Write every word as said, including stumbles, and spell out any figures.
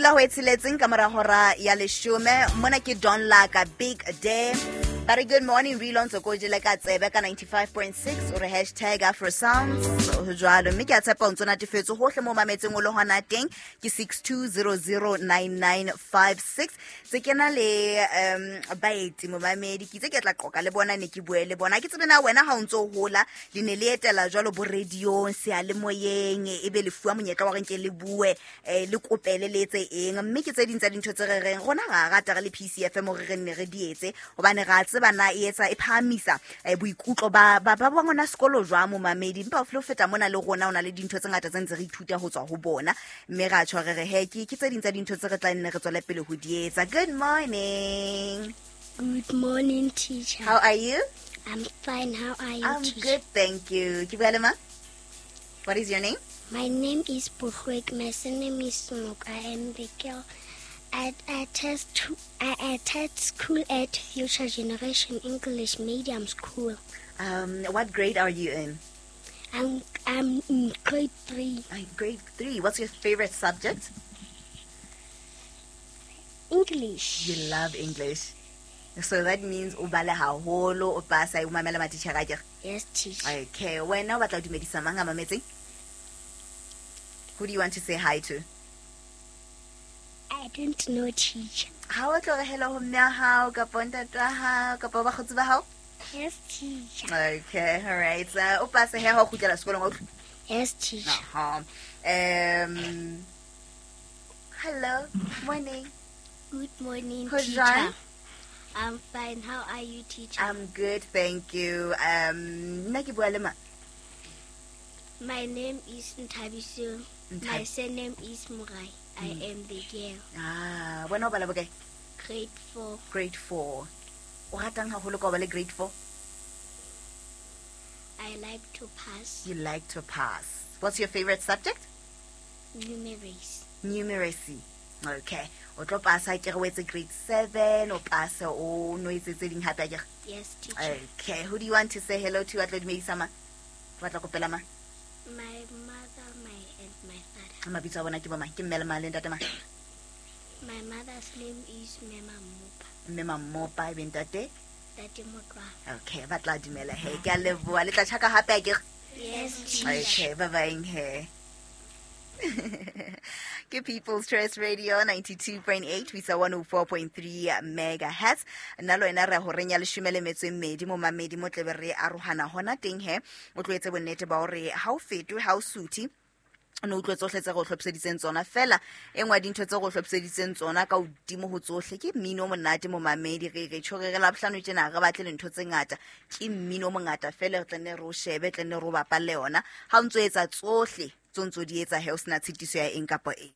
Dula ho e tsheletseng ka mora hora ya leshome. Mona ke Don Laka Big Day. Ba re good morning re ntse ko jele ka tsebe ka ninety-five point six o re hashtag Afro Sounds ho jwalo mme ke a tshepa o ntso natefetswe hohle mo mametseng o le hona teng ke six two zero zero nine nine five six. Tse kena le um baeti momamedi ke itse ke tla qoka le bona ne ke bue le bona ke tsebe na wena ha o ntso hola le ne le etela jwalo bo radio seyalemoyeng e be le fuwa monyetla wa re nke le bue le kopele le etse eng mme ke tse ding tsa dintho tse re reng rona ra rata re le P C F M hore re nne re di etse hobane ra tseba na e etsa e phahamisa boikutlo ba ba ba ngwana sekolo jwa momamedi empa o feta mona le rona o na le dintho tse ngata tse ntse re ithuta ho tswa ho bona mme ra tjho re re he ke ke tse ding tsa dintho tse re tla nne re tswele pele ho di etsa. Good morning. Good morning, teacher. How are you? I'm fine. How are you, I'm teacher? Good, thank you. Ke bua le mang? What is your name? My name is Buhwek. My surname is Smok. I am the girl. I attend, to, I attend school at Future Generation English Medium School. Um, what grade are you in? I'm, I'm in grade three. Uh, grade three. What's your favorite subject? English. You love English. So that means o bala haholo, o pasa, o mamela matitjhere akere? Yes, teacher. Okay. Wena o batla ho dumedisa mang a mametseng? Who do you want to say hi to? I don't know, teacher. Ha o tlo re hello ho mme wa hao kapa ntate wa hao kapa bakgotsi ba hao? Yes, teacher. Okay, all right. So, o pase he ha o kgutlela sekolong o utlwe? Yes, teacher. Uh-huh. Um, hello, morning. Good morning, Ho teacher. jwang? I'm fine. How are you, teacher? I'm good, thank you. Um, nna ke bua le mang? My name is Nthabiso. Nthab- My surname is Murai. I Mm. am the girl. Ah, wena o bala bokae? Grade four. Grade four. O ratang haholo ka o ba le grade four? I like to pass. You like to pass. What's your favorite subject? Numeracy. Numeracy. Okay. O tlo pasa ke re o etse grade seven, o pase o no etse tse ding hape akere? Yes, teacher. Okay. Who do you want to say hello to? Wa tlo dumedisa mang? Wa tla kopela mang? My mother, my and my father. Mabitso a bona ke bo mang? Ke mme le mang le ntate mang? My mother's name is Mema Mmopa. Mema Mmopa, ebe ntate? Ntate Motlwa. Okay, ba tla dumela he. Ke a leboha. Le tla tjhaka hape akere? Yes, teacher. Okay, bye-bye he. Ke People's Choice Radio ninety-two point eight ho isa one oh four point three megahertz. Nna le wena re horeng ya leshome le metso e mmedi mo mamedi mo tlebe re arohana hona teng he. O tlo etse bonnete ba hore ha o fetwe, ha o suthe, o no utlwe tsohle tse re o hlophiseditseng tsona. Feela e nngwe ya dintho tse re o hlophiseditseng tsona ka hodimo ho tsohle ke mmino o monate mo mamedi. Re re tjho re re Labohlano tjena re batle lintho tse ngata, ke mmino o mongata feela re tla nne re o shebe, tla nne re o bapalle yona. Ha o ntso etsa tsohle tso ntso di etsa he, o sena tshitiso ya eng kapa eng.